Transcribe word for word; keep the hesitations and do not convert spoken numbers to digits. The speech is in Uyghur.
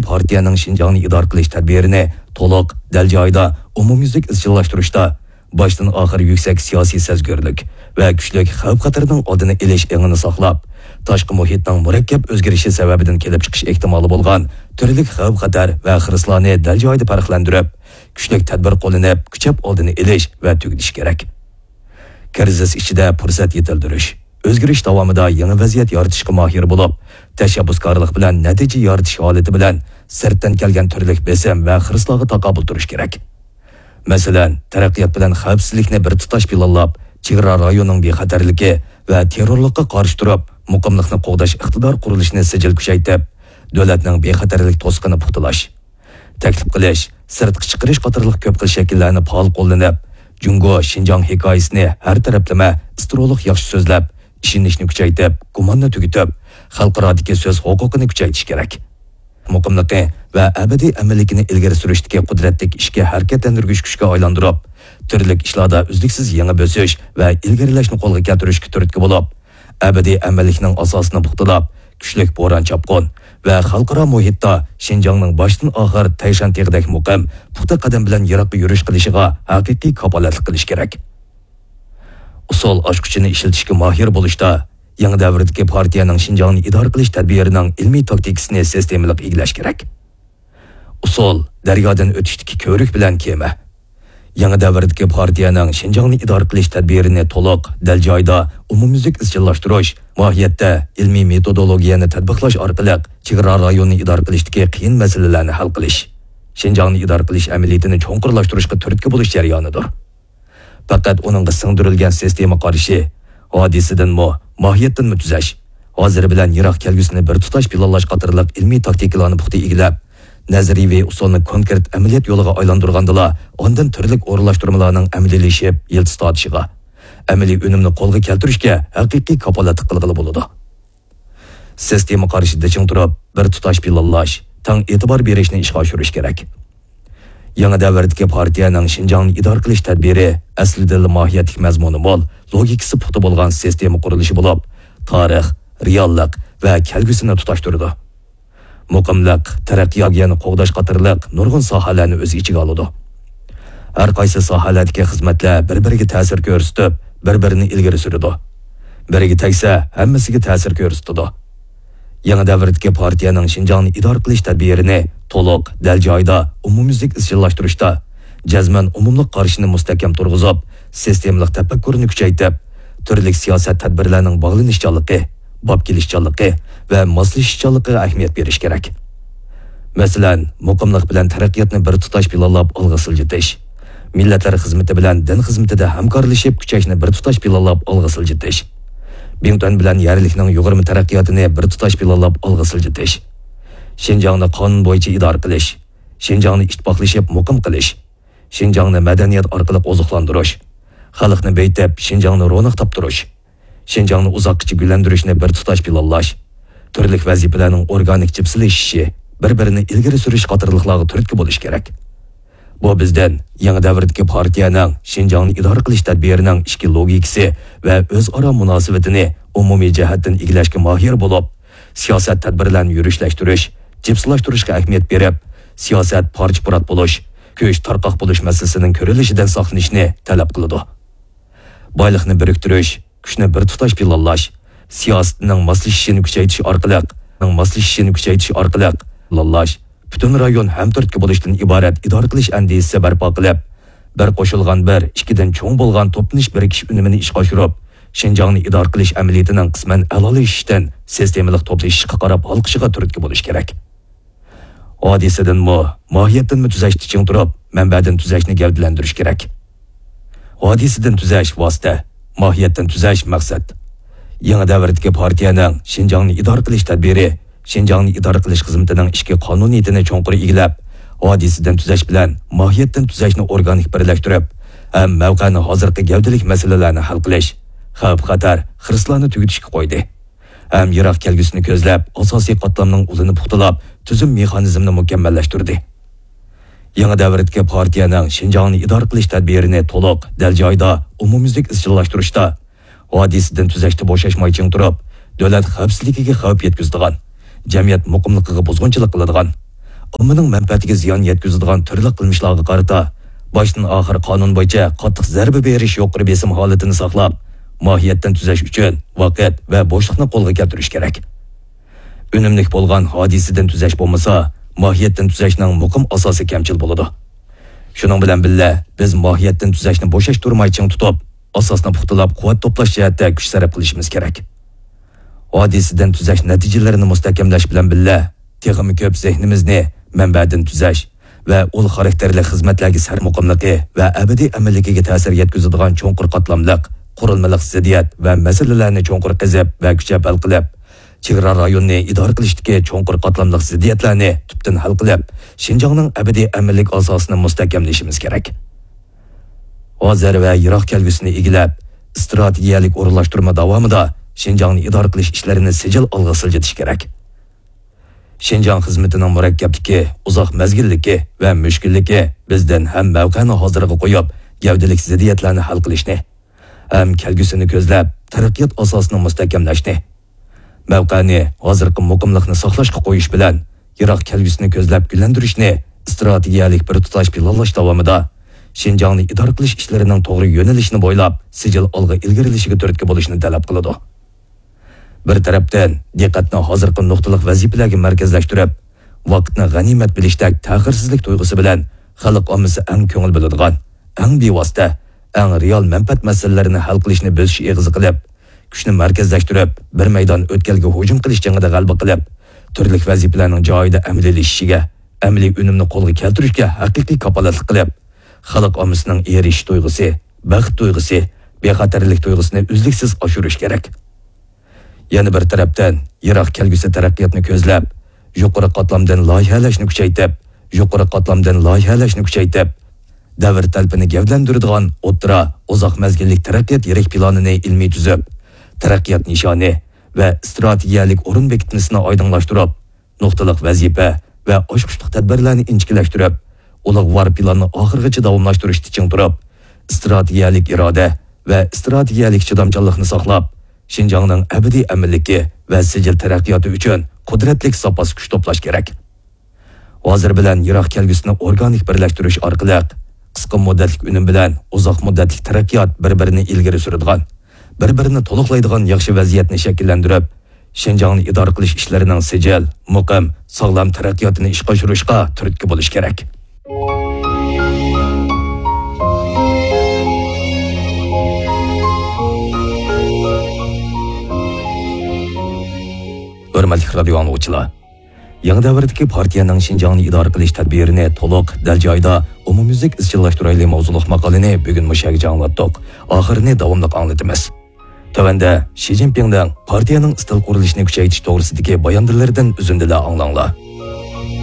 پارتىيەنىڭ شىنجاڭنى ئىدارە قىلىش تەدبىرىنى تولۇق، دەل جايىدا، ئومۇميۈزلۈك ئىزچىللاشتۇرۇشتا باشتىن ئاخىر يۈكسەك سىياسىي سەزگۈرلۈك ۋە كۈچلۈك خەۋپ-خەتەرنىڭ ئالدىنى ئېلىش ئېڭىنى ساقلاپ، تاشقى مۇھىتنىڭ مۇرەككەپ ئۆزگىرىشى سەۋەبىدىن كېلىپ چىقىش ئېھتىمالى بولغان تۈرلۈك خەۋپ-خەتەر ۋە خىرىسلارنى دەل جايىدا پەرقلەندۈرۈپ، كۈچلۈك تەدبىر قوللىنىپ، كۈچەپ ئالدىنى ئېلىش ۋە تۈگىتىش كېرەك. كىرىزىس ئىچىدە پۇرسەت يېتىلدۈرۈش، ئۆزگىرىش داۋامىدا يېڭى ۋەزىيەت يارىتىشقا ماھىر بولۇپ، تەشەببۇسكارلىق بىلەن نەتىجە يارىتىش ھالىتى بىلەن سىرتتىن كەلگەن تۈرلۈك بېسىم ۋە خىرىسلارغا تاقابىل تۇرۇش كېرەك. مەسىلەن، تەرەققىيات بىلەن خەۋپسىزلىكنى بىر تۇتاش پىلانلاپ، چېگرا رايونىنىڭ بىخەتەرلىكى ۋە تېررورلۇققا قارشى تۇرۇپ، مۇقىملىقنى قوغداش ئىقتىدار قۇرۇلۇشىنى سىجىل كۈچەيتىپ، دۆلەتنىڭ بىخەتەرلىك توسۇقىنى پۇختىلاش، تەكلىپ قىلىش، سىرتقا چىقىرىش قاتارلىق كۆپ خىل شەكىللەرنى پائال قوللىنىپ، جۇڭگو شىنجاڭ ھېكايىسىنى ھەر تەرەپلىمە ئىسترولۇق ياخشى سۆزلەپ، ئىشىنىشنى كۈچەيتىپ، گۇماننى تۈگىتىپ، خەلقئارادىكى سۆز ھوقۇقىنى كۈچەيتىش كېرەك. مۇقىملىقى ۋە ئەبەدىي ئەمىنلىكىنى ئىلگىرى سۈرۈشتىكى قۇدرەتلىك ئىچكى ھەرىكەتلەندۈرگۈچ كۈچكە ئايلاندۇرۇپ، تۈرلۈك ئىشلاردا ئۈزلۈكسىز يېڭى بۆسۈش ۋە ئىلگىرىلەشنى قولغا كەلتۈرۈشكە تۈرتكە بولۇپ، ئەبەدىي ئەمىنلىكنىڭ ئاساسىنى پۇختىلاپ، كۈچلۈك بوران-چاپقۇن ۋە خەلقئارا مۇھىتتا شىنجاڭنىڭ باشتىن ئاخىر تەيشەن تېغىدەك مۇقىم، پۇختا قەدەم بىلەن يىراققا يۈرۈش قىلىشىغا ھەقىقىي كاپالەتلىك قىلىش كېرەك. ئۇسۇل ئاچقۇچىنى ئىشلىتىشكە ماھىر بولۇشتا، يېڭى دەۋردىكى پارتىيەنىڭ شىنجاڭنى ئىدارە قىلىش تەدبىرىنىڭ ئىلمىي تاكتىكىسىنى سىستېمىلىق ئىگىلەش كېرەك. ئۇسۇل، دەريادىن ئۆتۈشتىكى كۆۋرۈك بىلەن كېمە. يېڭى دەۋردىكى پارتىيەنىڭ شىنجاڭنى ئىدارە قىلىش تەدبىرىنى تولۇق، دەل جايىدا، ئومۇميۈزلۈك ئىزچىللاشتۇرۇش، ماھىيەتتە ئىلمىي مېتودولوگىيەنى تەتبىقلاش ئارقىلىق چېگرا رايونىنى ئىدارە قىلىشتىكى قىيىن مەسىلىلەرنى ھەل قىلىش، شىنجاڭنى ئىدارە قىلىش ئەمەلىيىتىنى چوڭقۇرلاشتۇرۇشقا تۈرتكە بولۇش جەريانىدۇر. پەقەت ئۇنىڭغا سىڭدۈرۈلگەن سىستېما قارىشى، ھادىسىدىنمۇ، ماھىيەتتىنمۇ تۈزەش، ھازىر بىلەن يىراق كەلگۈسىنى بىر تۇتاش پىلانلاش قاتارلىق ئىلمىي تاكتىكىلارنى پۇختا ئىگىلەپ، نەزەرىيىۋى ئۇسۇلنى كونكرېت ئەمەلىيەت يولىغا ئايلاندۇرغاندىلا، ئاندىن تۈرلۈك ئورۇنلاشتۇرمىلارنىڭ ئەمەلىيلىشىپ، يىلتىز تارتىشىغا، ئەمەلىي ئۈنۈمنى قولغا كەلتۈرۈشكە ھەقىقىي كاپالەتلىك قىلغىلى بولىدۇ. سىستېما قارىشىدا چىڭ تۇرۇپ، بىر تۇتاش پىلانلاش، تەڭ ئېتىبار بېرىشنى ئىشقا ئاشۇرۇش كېرەك. يېڭى دەۋردىكى پارتىيەنىڭ شىنجاڭنى ئىدارە قىلىش تەدبىرى ئەسلىدىلا ماھىيەتلىك مەزمۇنى مول، لوگىكىسى پۇختا بولغان سىستېما قۇرۇلۇشى بولۇپ، تارىخ، رېئاللىق ۋە كەلگۈسىنى تۇتاشتۇرىدۇ. مۇقىملىق، تەرەققىياتنى قوغداش قاتارلىق نۇرغۇن ساھەلەرنى ئۆز ئىچىگە ئالىدۇ. ھەر قايسى ساھەلەردىكى خىزمەتلەر بىر-بىرىگە تەسىر كۆرسىتىپ، بىر-بىرىنى ئىلگىرى سۈرىدۇ. بىرىگە تەگسە، ھەممىسىگە تەسىر كۆرسىتىدۇ. يېڭى دەۋردىكى پارتىيەنىڭ شىنجاڭنى ئىدارە قىلىش تەدبىرىنى تولۇق، دەل جايىدا، ئومۇميۈزلۈك ئىزچىللاشتۇرۇشتا، جەزمەن ئومۇملۇق قارىشىنى مۇستەھكەم تۇرغۇزۇپ، سىستېمىلىق تەپەككۇرنى كۈچەيتىپ، تۈرلۈك سىياسەت تەدبىرلەرنىڭ باغلىنىشچانلىقى، باب كېلىشچانلىقى ۋە ماسلىشىشچانلىقىغا ئەھمىيەت بېرىش كېرەك. مەسىلەن، مۇقىملىق بىلەن تەرەققىياتنى بىر تۇتاش پىلانلاپ ئالغا سىلجىتىش، مىللەتلەر خىزمىتى بىلەن دىن خىزمىتىدە ھەمكارلىشىپ كۈچەشنى بىر تۇتاش پىلانلاپ ئالغا سىلجىتىش، بىڭتۈەن بىلەن يەرلىكنىڭ يۇغۇرما تەرەققىياتىنى بىر تۇتاش پىلانلاپ ئالغا سىلجىتىش، شىنجاڭنى قانۇن بويىچە ئىدارە قىلىش، شىنجاڭنى ئىتتىپاقلىشىپ مۇقىم قىلىش، شىنجاڭنى مەدەنىيەت ئارقىلىق ئوزۇقلاندۇرۇش، خەلقنى بېيىتىپ، شىنجاڭنى روناق تاپتۇرۇش، شىنجاڭنى ئۇزاققىچە گۈللەندۈرۈشنى بىر تۇتاش پىلانلاش، تۈرلۈك ۋەزىپىلەرنىڭ ئورگانىك جىپسىلىشىشى، بىر-بىرىنى ئىلگىرى سۈرۈش قاتارلىقلارغا تۈرتكە بولۇش كېرەك. بۇ بىزدىن يېڭى دەۋردىكى پارتىيەنىڭ شىنجاڭنى ئىدارە قىلىش تەدبىرىنىڭ ئىچكى لوگىكىسى ۋە ئۆزئارا مۇناسىۋىتىنى ئومۇمىي جەھەتتىن ئىگىلەشكە ماھىر بولۇپ، سىياسەت تەدبىرلەرنى يۈرۈشلەشتۈرۈش، جىپسىلاشتۇرۇشقا ئەھمىيەت بېرىپ، سىياسەت پارچە-پۇرات بولۇش، كۈچ تارقاق بولۇش مەسىلىسىنىڭ كۆرۈلۈشىدىن ساقلىنىشنى تەلەپ قىلىدۇ. بايلىقنى بىرىكتۈرۈش، كۈچنى بىر تۇتاش پىلانلاش، سىياسىتىنىڭ ماسلىشىشىنى كۈچەيتىش ئارقىلىق، ماسلىشىشىنى كۈچەيتىش ئارقىلىق پىلانلاش، پۈتۈن رايون ھەمتۈرتكە بولۇشتىن ئىبارەت ئىدارە قىلىش ئەندىزىسى بەرپا قىلىپ، بىر قوشۇلغان بىر، ئىككىدىن چوڭ بولغان توپلىنىش بىرىكىش ئۈنۈمىنى ئىشقا ئاشۇرۇپ، شىنجاڭنى ئىدارە قىلىش ئەمەلىيىتىنىڭ قىسمەن ئەلالىشىشتىن سىستېمىلىق توپلىشىشقا قاراپ ھالقىشىغا تۈرتكە بولۇش كېرەك. ھادىسىدىنمۇ، ماھىيەتتىنمۇ تۈزەشتە چىڭ تۇرۇپ، مەنبەدىن تۈزەشنى گەۋدىلەندۈرۈش كېرەك. ھادىسىدىن تۈزەش ۋاسىتە، ماھىيەتتىن تۈزەش مەقسەت. يېڭى دەۋردىكى پارتىيەنىڭ شىنجاڭنى ئىدارە قىلىش تەدبىرى شىنجاڭنى ئىدارە قىلىش خىزمىتىنىڭ ئىچكى قانۇنىيىتىنى چوڭقۇر ئىگىلەپ، ھادىسىدىن تۈزەش بىلەن ماھىيەتتىن تۈزەشنى ئورگانىك بىرلەشتۈرۈپ، ھەم مەۋقەنى ھازىرقى گەۋدىلىك مەسىلىلەرنى ھەل قىلىش، خەۋپ-خەتەر، خىرىسلارنى تۈگىتىشكە قويدى. ھەم يىراق كەلگۈسىنى كۆزلەپ، ئاساسىي قاتلامنىڭ ئۇلىنى پۇختىلاپ، تۈزۈم مېخانىزمىنى مۇكەممەللەشتۈردى. يېڭى دەۋردىكى پارتىيەنىڭ شىنجاڭنى ئىدارە قىلىش تەدبىرىنى تولۇق، دەل جايىدا، ئومۇميۈزلۈك ئىزچىللاشتۇرۇشتا، ھادىسىدىن تۈزەشتە بوشاشماي چىڭ تۇرۇپ، دۆلەت خەۋپسىزلىكىگە خەۋپ يەتكۈزىدىغان، جەمئىيەت مۇقىملىقىغا بۇزغۇنچىلىق قىلىدىغان، ئاممىنىڭ مەنپەئەتىگە زىيان يەتكۈزىدىغان تۈرلۈك قىلمىشلارغا قارىتا باشتىن ئاخىر قانۇن بويىچە قاتتىق زەربە بېرىش يۇقىرى بېسىم ھالىتىنى ساقلاپ، ماھىيەتتىن تۈزەش ئۈچۈن ۋاقىت ۋە بوشلۇقنى قولغا كەلتۈرۈش كېرەك. ئۈنۈملۈك بولغان ھادىسىدىن تۈزەش بولمىسا، ماھىيەتتىن تۈزەشنىڭ مۇقىم ئاساسى كەمچىل بولىدۇ. شۇنىڭ بىلەن بىللە، بىز ماھىيەتتىن تۈزەشنى بوشاشتۇرماي چىڭ تۇتۇپ، ئاساسنى پۇختىلاپ، قۇۋۋەت توپلاش جەھەتتە كۈچ سەرپ قىلىشىمىز كېرەك. ھادىسىدىن تۈزەش نەتىجىلىرىنى مۇستەھكەملەش بىلەن بىللە، تېخىمۇ كۆپ زېھنىمىزنى مەنبەدىن تۈزەش ۋە ئۇل خاراكتېرلىك خىزمەتلەرگە سەرمۇقىملىقى ۋە ئەبەدىي ئەمىنلىكىگە تەسىر يەتكۈزىدىغان چوڭقۇر قاتلاملىق قۇرۇلمىلىق زىددىيەت ۋە مەسىلىلەرنى چوڭقۇر قېزىپ ۋە كۈچەپ ھەل قىلىپ، چېگرا رايوننى ئىدارە قىلىشتىكى چوڭقۇر قاتلاملىق زىددىيەتلەرنى تۈپتىن ھەل قىلىپ، شىنجاڭنىڭ ئەبەدىي ئەمىنلىك ئاساسىنى مۇستەھكەملىشىمىز كېرەك. ھازىر ۋە يىراق كەلگۈسىنى ئىگىلەپ، ئىستراتېگىيەلىك ئورۇنلاشتۇرما داۋامىدا شىنجاڭنى ئىدارە قىلىش ئىشلىرىنى سىجىل ئالغا سىلجىتىش كېرەك. شىنجاڭ خىزمىتىنىڭ مۇرەككەپلىكى، ئۇزاق مەزگىللىكى ۋە مۈشكۈللۈكى بىزدىن ھەم مەۋقەنى ھازىرغا قويۇپ، گەۋدىلىك زىددىيەتلەرنى ھەل قىلىشنى، ھەم كەلگۈسىنى كۆزلەپ، تەرەققىيات ئاساسىنى مۇستەھكەملەشنى، مەۋقەنى، ھازىرقى مۇقىملىقنى ساقلاشقا قويۇش بىلەن، يىراق كەلگۈسىنى كۆزلەپ گۈللەندۈرۈشنى ئىستراتېگىيەلىك بىر تۇتاش پىلانلاش داۋامىدا شىنجاڭنى ئىدارە قىلىش ئىشلىرىنىڭ توغرا يۆنىلىشىنى بويلاپ سىجىل ئالغا ئىلگىرىلىشىگە تۈرتكە بولۇشنى تەلەپ قىلىدۇ. بىر تەرەپتىن، دىققەتنى ھازىرقى نۇقتىلىق ۋەزىپىلەرگە مەركەزلەشتۈرۈپ، ۋاقىتنى غەنىيمەت بىلىشتەك تەخىرسىزلىك تۇيغۇسى بىلەن خەلق ئاممىسى ئەڭ كۆڭۈل بۆلىدىغان، ئەڭ بىۋاسىتە، ئەڭ رېئال مەنپەئەت مەسىلىلىرىنى ھەل قىلىشنى بۆسۈش ئېغىزى قىلىپ، كۈچنى مەركەزلەشتۈرۈپ، بىر مەيدان ئۆتكەلگە ھۇجۇم قىلىش جېڭىدە غەلىبە قىلىپ، تۈرلۈك ۋەزىپىلەرنىڭ جايىدا ئەمەلىيلىشىشىگە، ئەمەلىي ئۈنۈمنى قولغا كەلتۈرۈشكە ھەقىقىي كاپالەتلىك قىلىپ، خەلق ئاممىسىنىڭ ئېرىشىش تۇيغۇسى، بەخت تۇيغۇسى، بىخەتەرلىك تۇيغۇسىنى ئۈزلۈكسىز ئاشۇرۇش كېرەك. يەنە بىر تەرەپتىن، يىراق كەلگۈسى تەرەققىياتنى كۆزلەپ، يۇقىرى قاتلامدىن لايىھەلەشنى كۈچەيتىپ، يۇقىرى قاتلامدىن لايىھەلەشنى كۈچەيتىپ، دەۋر تەلىپىنى گەۋدىلەندۈرىدىغان ئوتتۇرا، ئۇزاق مەزگىللىك تەرەققىيات يىرىك پىلانىنى ئىلمىي تۈزۈپ، تەرەققىيات نىشانى ۋە ئىستراتېگىيەلىك ئورۇن بېكىتمىسىنى ئايدىڭلاشتۇرۇپ، نۇقتىلىق ۋەزىپە ۋە ئاچقۇچلۇق تەدبىرلەرنى ئىنچىكىلەشتۈرۈپ، ئۇلۇغۋار پىلاننى ئاخىرغىچە داۋاملاشتۇرۇشتا چىڭ تۇرۇپ، ئىستراتېگىيەلىك ئىرادە ۋە ئىستراتېگىيەلىك چىدامچانلىقنى ساقلاپ، شىنجاڭنىڭ ئەبەدىي ئەمىنلىكى ۋە سىجىل تەرەققىياتى ئۈچۈن قۇدرەتلىك زاپاس كۈچ توپلاش كېرەك. ھازىر بىلەن يىراق كەلگۈسىنى ئورگانىك بىرلەشتۈرۈش ئارقىلىق، قىسقا مۇددەتلىك ئۈنۈم بىلەن ئۇزاق مۇددەتلىك تەرەققىيات بىر-بىرىنى ئىلگىرى سۈرىدىغان، بىر-بىرىنى تولۇقلايدىغان ياخشى ۋەزىيەتنى شەكىللەندۈرۈپ، شىنجاڭنى ئىدارە قىلىش ئىشلىرىنىڭ سىجىل، مۇقىم، ساغلام تەرەققىياتىنى ئىشقا ئاشۇرۇشقا تۈرتكە بولۇش كېرەك. ھۆرمەتلىك رادىيو ئاڭلىغۇچىلار! يېڭى دەۋردىكى پارتىيەنىڭ شىنجاڭنى ئىدارە قىلىش تەدبىرىنى تولۇق، دەل جايىدا، ئومۇميۈزلۈك ئىزچىللاشتۇرايلى ماۋزۇلۇق ماقالىنى بۈگۈن مۇشۇ يەرگىچە ئاڭلاتتۇق. ئاخىرىنى داۋاملىق ئاڭلىتىمىز. تۆۋەندە شى جىنپىڭنىڭ پارتىيەنىڭ ئىستىل قۇرۇلۇشىنى كۈچەيتىش توغرىسىدىكى باياناتلىرىدىن ئۈزۈندىلەر ئاڭلاڭلار.